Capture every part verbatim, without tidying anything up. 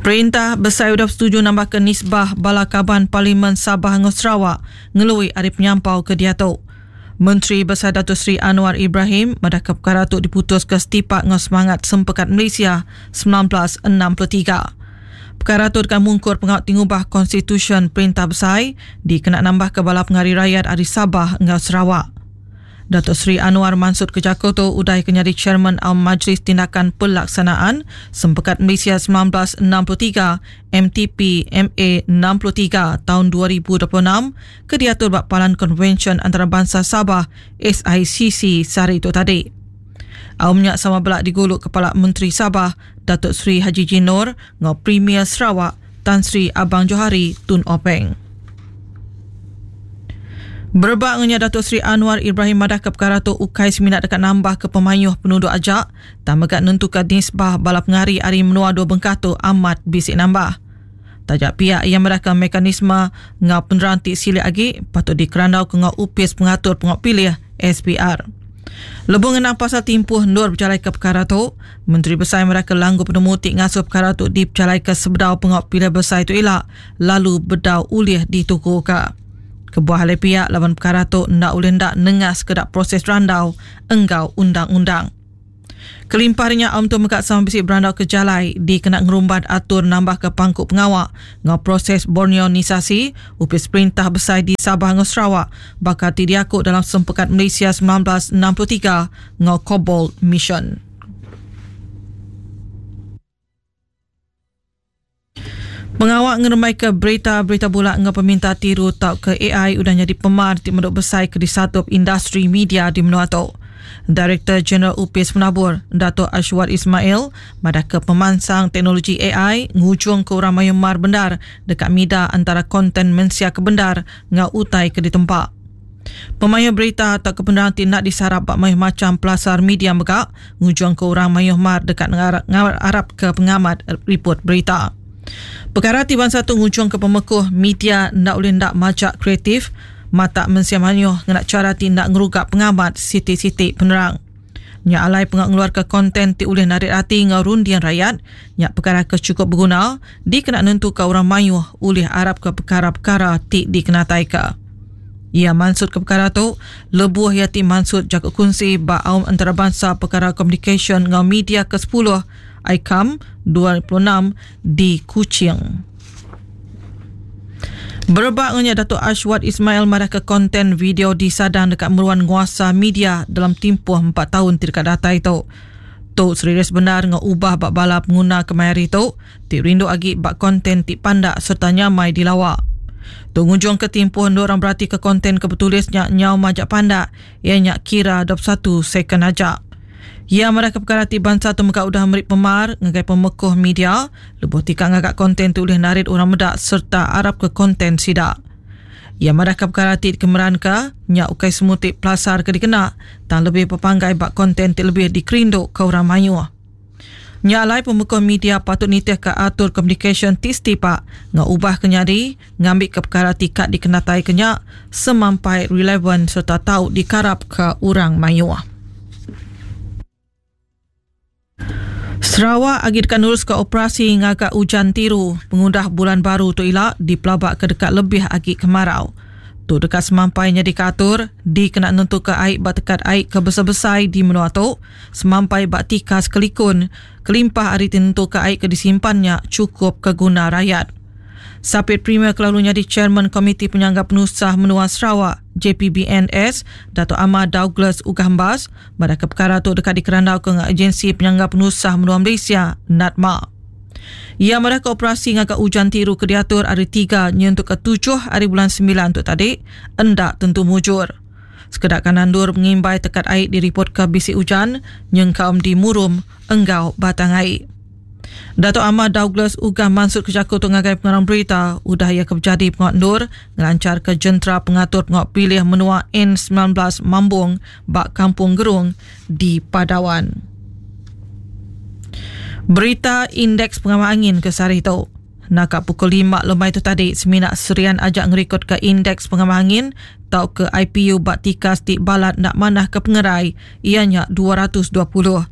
Perintah besai udah setuju nambah ke nisbah bala kaban Parlimen Sabah ngau Sarawak ngelui ari penyampau ke diatu. Menteri Besar Datuk Seri Anwar Ibrahim madah ke perkara tu diputus ke setipak ngau semangat Sempekat Malaysia sembilan belas enam puluh tiga. Perkara tu dekat mungkur pengawal tingubah Konstitusyen Perintah Besai dikena nambah ke bala pengari rakyat ari Sabah ngau Sarawak. Datuk Seri Anwar Mansud Kejako tu udah ke nyadi Chairman Aum Majlis Tindakan Pelaksanaan Sempekat Malaysia sembilan belas enam puluh tiga M T P M A enam puluh tiga tahun dua ribu dua puluh enam ke diatur bak Palan Konvensyen Antarabangsa Sabah S I C C sehari itu tadi. Aumnya sama belak diguluk Kepala Menteri Sabah Datuk Seri Hajiji Noor ngau Premier Sarawak Tan Sri Abang Johari Tun Openg. Berebak ngenya Datuk Seri Anwar Ibrahim madah ke perkara tu ukai seminat dekat nambah ke pemayuh penduduk ajak tak megat nentukan nisbah bala pengari ari menua dua bengkah tu amat bisik nambah. Tajak pihak yang meraka mekanisme ngau penerang ti silik agi patut dikerandau ke ngau upis pengatur pengok pilih S P R. Lebih ngenang pasal timpuh nur berjalai ke perkara tu, Menteri Besar mereka langgu penemu ti ngasuh perkara tu diperjalai ke sebedau pengok pilih besar itu elak lalu bedau ulih dituku ke. Kebuah oleh pihak lawan perkara tu ndak boleh ndak nengas kedak proses randau enggau undang-undang. Kelimpahnya om tu mekat sama bisik berandau ke jalai di kena ngerumbat atur nambah ke pangkuk pengawak ngau proses borneonisasi upis perintah besar di Sabah ngau Sarawak bakal diakuk dalam Sempekat Malaysia sembilan belas enam puluh tiga ngau Cobbold Mission. Pengawak ngeremai ke berita-berita bulak ngau peminta tiru tau ke A I udah jadi pemar ti menduk besai ke disatup industri media di menua tu. Director General Upis Penabur, Dato' Ashwad Ismail, madah ke pemansang teknologi A I ngujung ke orang mayumar bendar dekat mida antara konten mensia ke bendar ngau utai ke ditempak. Pemayu berita atau kebenaran ti nak disarap bak mayuh macam pelasar media megak ngujung ke orang mayuh mar dekat ngarap, ngarap Arab ke pengamat report berita. Perkara ti bangsa tu ngujung ke pemekuh media ndak boleh ndak macak kreatif mata mensia manyuh ngena cara ti ndak ngerugak pengamat siti-siti penerang. Nyak alai pengak ngeluar ke konten ti ulih narik hati ngau rundian rakyat, nyak perkara ke cukup berguna dikena nentu ke orang mayuh ulih arab ke perkara-perkara ti dikenatai ke. Ia maksud ke perkara tu, lebuh ia ti maksud jaga kunci ba aum antarabangsa perkara communication ngau media ke sepuluh I C A M dua puluh enam di Kuching. Berebak dengan Datuk Ashwad Ismail marah ke konten video disadang dekat meruan nguasa media dalam tempoh empat tahun tidak data itu. Tok serius benar ngau ubah bak bala pengguna kemari tu, ti rindu agi bak konten ti pandak serta nyamai dilawak. Tok ngujung ke tempoh orang berarti ke konten kebetulisnya nyau majak pandak, ianya kira dua puluh satu second aja. Ia marah ke perkara ti bangsa tu mega udah merik pemar ngagai pemekuh media, lebuh tika ngagak konten tu ulih narit orang medak serta arab ke konten sidak. Ia marah ke perkara ti kemeran ke, nyak ukai semutik pelasar ke dikena, tang lebih pepanggai bak konten ti lebih dikerinduk ke orang mayuh. Nyak alai pemekuh media patut nitih ke atur communication ti setipak, ngau ubah kenyadi, ngambil ke perkara tikat dikenatai kenyak, semampai relevan serta tau dikarap ke orang mayuh. Sarawak agi dekat nurus ke operasi ngagak hujan tiru pengundah bulan baru tu ilak dipelabak ke dekat lebih agi kemarau. Tu dekat semampainya dikatur dikena nentu ke air bak tekat air ke besar-besar di menua tu semampai bak tikas kelikun kelimpah ari tentu ke air ke disimpannya cukup ke guna rakyat. Sapit Premier kelalunya di Chairman Komiti Penyangga Penusah Menua Sarawak J P B N S Dato' Amar Douglas Uggah Embas pada ke perkara tu dekat dikerandau ke Agensi Penyangga Penusah Menua Malaysia N A D M A. Ia mereka operasi ngagak hujan tiru ke diatur hari tiga nyentuk ke tujuh hari bulan sembilan untuk tadi endak tentu mujur. Sekedak kanan dur mengimbai tekat air diripot ke bisik hujan nyengkaum di Murum enggau batang air. Dato' Amar Douglas Uggah Mansud Kejaku tu ngagai pengarang berita udah ia kejadi pengawak ndur ngelancar ke jentera pengatur pengawak pilih menua N sembilan belas Mambung bak Kampung Gerung di Padawan. Berita indeks pengamal angin ke sehari tu. Nakak pukul lima lemai tu tadi seminak Serian ajak ngerikod ke indeks pengamal angin tau ke I P U bak tikas ti balat nak manah ke pengerai ianya dua ratus dua puluh.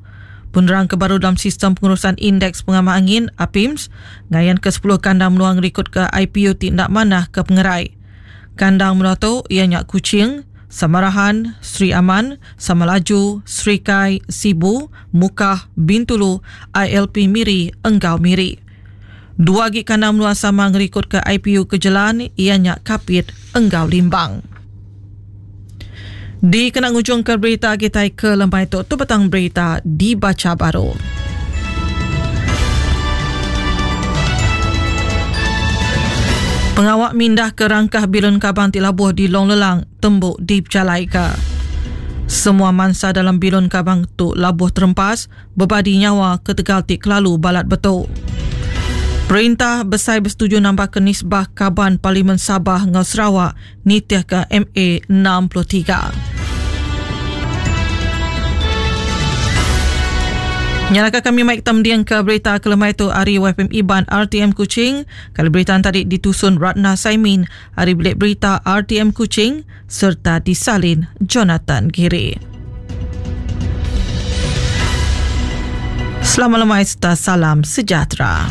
Penerang ke baru dalam Sistem Pengurusan Indeks Pengamah Angin, APIMS, ngayan ke sepuluh kandang menua ngerikut ke I P U ti enda manah ke pengerai. Kandang menua tu iya nya Kuching, Samarahan, Sri Aman, Samalaju, Serikai, Sibu, Mukah, Bintulu, I L P Miri, Enggau Miri. Dua agi kandang menua sama ngerikut ke I P U ke jelan iya nya Kapit Enggau Limbang. Di kena ngujung ke berita kita ke lemai tu, tu petang berita dibaca baru. Pengawak mindah ke rangkah bilun kabang ti labuh di Long Lelang tembuk di Pejalaika. Semua mangsa dalam bilun kabang tu labuh terempas bebadi nyawa ketegal ti kelalu balat betul. Perintah besai bersetuju nambah ke nisbah kaban Parlimen Sabah ngau Sarawak nitih ke M A enam puluh tiga. Nyalaka kami mic temdiang ke berita kelemai tu hari Y F M Iban R T M Kuching. Kalau berita tadi ditusun Ratna Saimin hari bilik berita R T M Kuching serta disalin Jonathan Giri. Selamat lemai serta salam sejahtera.